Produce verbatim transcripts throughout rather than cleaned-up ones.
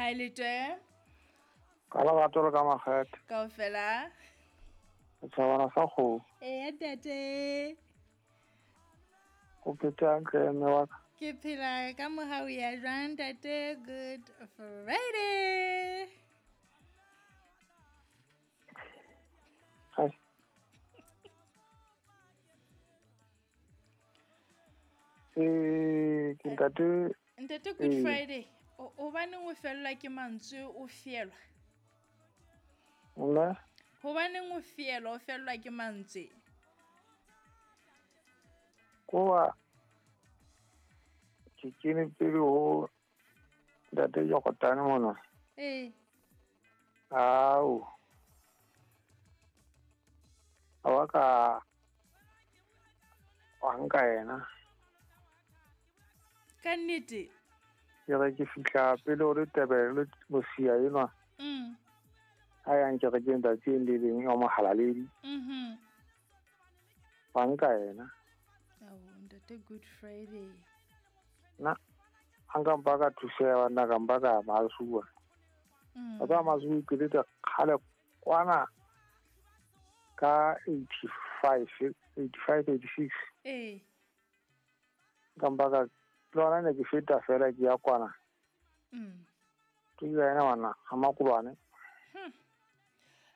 Kae le twe? Ka lerato le ka makgethe. Kaofela. Setjhabana sa kgomo. Eya ntate. O phetse hantle mme wa ka? Ke phela ka mohau ya jwang ntate? Good Friday. Hai. Eh, ke ntate. Ntate Good Ee. Friday. O hobaneng o fellwa ke mantswe o fielwa? Nna? Hobaneng o fielwa o fellwa ke mantswe? Ko ke kene pele ho ntate Jokotane mona. Ee. Ao. A wa ka wa nka yena. Ka nnete? Ke re ke fihla pele ho Letebele Mosia enwa. Mm. A yang kerekeng tsatsing le leng ya Mohalaledi. Mhm. Wa nka yena. Ao, ntate Good Friday. Nna ha nka mpa ka thuseha nna ka mpa ka Masuwa. Mm. Wa tseba Masuwa ke le kgale kwana ka eighty-five, eighty-five, eighty-six. Ee. Nka mpa ka le hona ne ke feta fela ke ya kwana. Mm. Ke ya ena ngwana ha Makulwane. Hmm.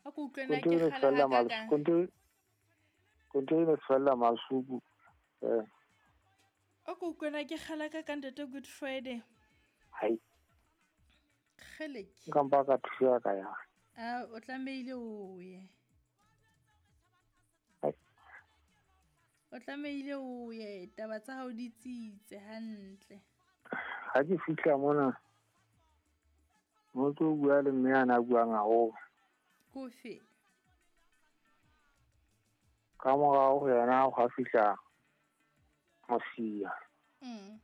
A ko utlwe na Konto ke e ne kgale fella ha Mas- kakang. konto e- konto e ne fella Masuku. Eh. A ko utlwe na ke kgale ha kakang ntate Good Friday. Hai. Kgele ke. Nka mpa ka thuseha ka ya. A o tlamehile o ye. Hai. O tlamehile o ye, taba tsa hao di tsitse hantle. Ha ke fihla mona, motho o bua le mme a na buang haholo. Kofe? Ka morao ho yena hwa fihla Mosia. Mm.